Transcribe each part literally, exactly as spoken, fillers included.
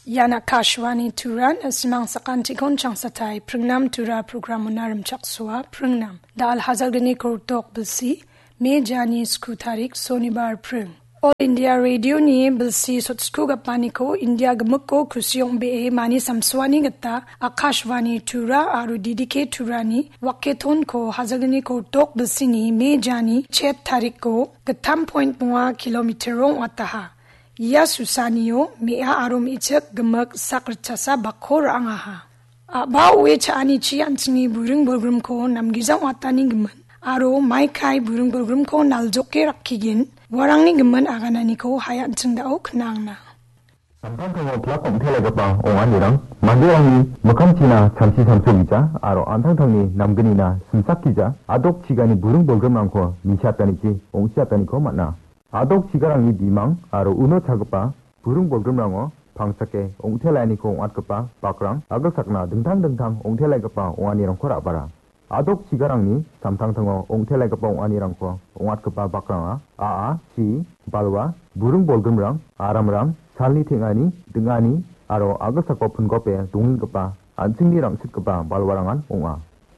Ian Akashvani Turan, a·simang sakantikon changsatai, Pringnam Tura programona rimchaksoa, Pringnam. Da·al hajalgni kortok bilsi, Me jani sku tarik Sonibar Pring. All India Radio-ni bilsi sotsko gapaniko India gimikko kusi ong·bee mani samsoani gita Akashvani Tura aro D D K Turani waketonko hajalgni kortok bilsini Me jani chet tariko gittam point bonga kilometer ong·ataha. Ia susanio me·a aro me·chik gimik sak ritchasa bakko ra·angaha. A·ba oe cha·anichi an·chingni buring bolgrimko namgija ong·atani gimin. Aro maikai buring bolgrimko naljoke rakkigin, uarangni gimin agananiko hai an·ching da·o knangna. Samtangtango plak ong·telegipa ong·anirang manderangni mikkangchina samsi samsogija aro an·tangtangni namgnina simsakgija a·dok chigani buring bolgrimrangko nisiatanichi ong·siataniko man·a. A·dok chigarangni bimang aro uno chagipa buring bolgrimrango pangsake ong·telainiko ong·atgipa bakrang agilsakna dingtang dingtang ong·telaigipa ong·anirangko ra·bara. A·dok chigarangni samtangtango ong·telaigipa ong·anirangko ong·atgipa bakranga a·a, chi, balwa, buring bolgrimrang, aramrang, salni teng·ani, ding·ani aro agilsako pingope dongenggipa an·chingni rang·sitgipa balwarangan ong·a.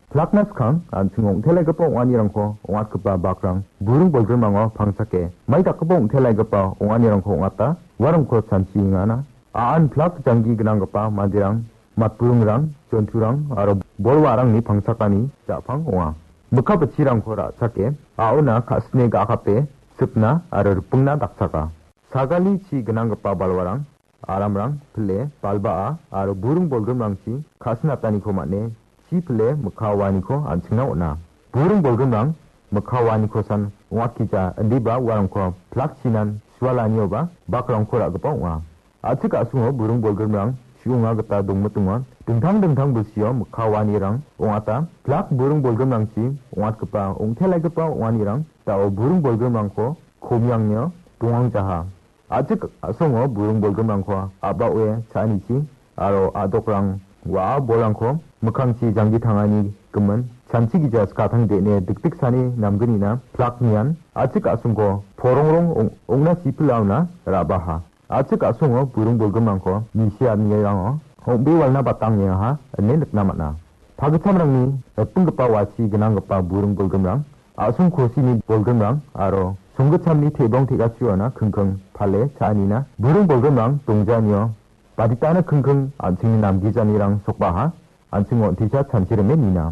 Plakna skang an·ching ong·telaigipa ong·anirangko ong·atgipa bakrang buring bolgrimrango pangsake mai dakgipa ong·telaigipa ong·anirangko ong·ata uarangko chanchiengana. A·an plak janggi gnanggipa manderang, matburingrang, jonturang aro bolwarangni pangsakani ja·pang ong·a. Mikka bitchirangko ra·chake a·ona ka·sine ga·akape sipna aro ripingna dakchaka. Sagali chi gnanggipa balwarang, aramrang, pile, balba·a aro buring bolgrimrangchi ka·sinataniko man·e chi pile mikka waaniko an·chingna on·a. Buring bolgrimrang mikka waanikosan ong·atgija indiba uarangko plakchinan sualanioba bakrangko ra·gipa ong·a. A·chik a·songo buring bolgrimrang chu·onga gita dongmitonga. Dingtang dingtang bilsio mikka waanirang ong·ata. Plak buring bolgrimrangchi ong·atgipa ong·telaigipa ong·anirang da·o buring bolgrimrangko komiangnio dongangjaha. A·chik a·songo buring bolgrimrangko a·baoe cha·anichi aro a·dokrang wa·a bolrangko mikkangchi janggi tangani gimin chanchi gija skatang de·ne dikdiksani namgnina plak nian a·chik a·songko porongrong ong-, ong·na sipilaona ra·baha. A·chik a·songo buring bolgrimrangko nisianirango ong·be walna batang niaha ine nikna man·a. Pagittamrangni ripinggipa wachi gnanggipa buring bolgrimrang, a·song kosini bolgrimrang aro songgittamni te·bong te·gachiona kingking pale cha·anina buring bolgrimrang dongjanio baditana kingking an·chingni namgijanirang sokbaha an·chingo on·tisa chanchirime nina.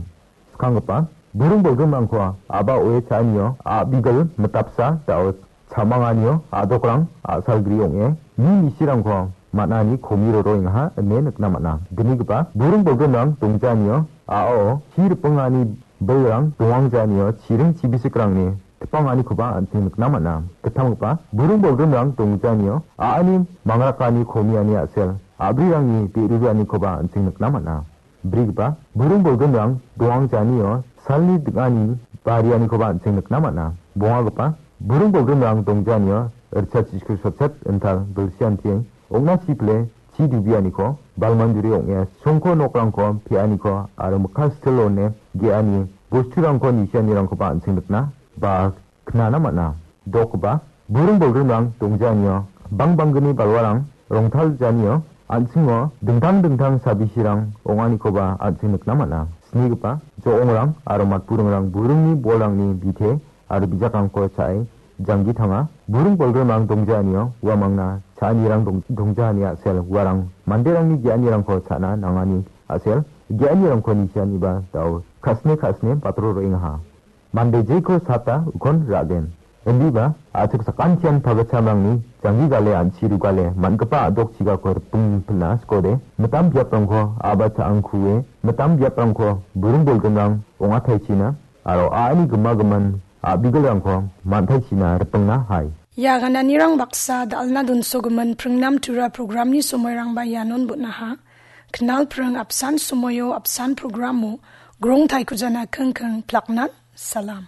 Skanggipa buring bolgrimrangko a·baoe cha·anio a·bigil mitapsa da·o chamanganio a·dokrang a·salgri ong·e mi misirangko man·ani komi roroengaha ine nikna man·a. Gnigipa buring bolgrimrang dongjanio a·ao chi ripingani bilrang dongangjaniyo chiring chibisikrangni tipanganikoba an·ching nikna man·a. Gittamgipa buring bolgrimrang dongjaniyo a·ani mangrakani komiani a·sel a·brirangni de·rianikoba an·ching nikna man·a. Brigipa buring bolgrimrang dongangjaniyo salni ding·ani barianikoba an·ching nikna man·a. Bongagipa buring bolgrimrang dongjanio ritchasku sotset intal bilsianti ong·na sipile chi dubianiko, balmanduri ong·e songko nokrangko pe·aniko aro mikka stil one ge·ani bosturangko nisianirangkoba an·ching nikna ba knana man·a. Dokgipa buring bolgrimrang dongjanio bangbanggni balwarang rongtaljanio an·chingo dingtang dingtang sabisirang ong·anikoba an·ching nikna man·a. Snigipa jo·ongrang aro matburingrang buringni bolrangni bite aro bijakrangko cha·e janggi tanga. Buring bolgrimrang dongjanio uamangna cha·anirang dong-, dongjani a·sel uarang manderangni ge·anirangko cha·na nangani a·sel ge·anirangko nisianiba da·o ka·sine ka·sine batro roengaha. Mande jeko sata ukon ra·gen. Indiba a·chik sakantian pagitchamrangni janggi gale an·chi rugale man·gipa a·dok chigako riping pina skode mitam biaprangko a·ba cha·angkue mitam biaprangko buring bolgrimrang ong·ataichina aro a·ani gima gimin a·bigilrangko man·taichina ripingna hai. Ia gananirang baksa dal·na donsogimin Pringnam Tura programni somoirangba ianon bon·aha. Knal pring apsan somoio apsan programo grong taikujana kingking plaknan salam.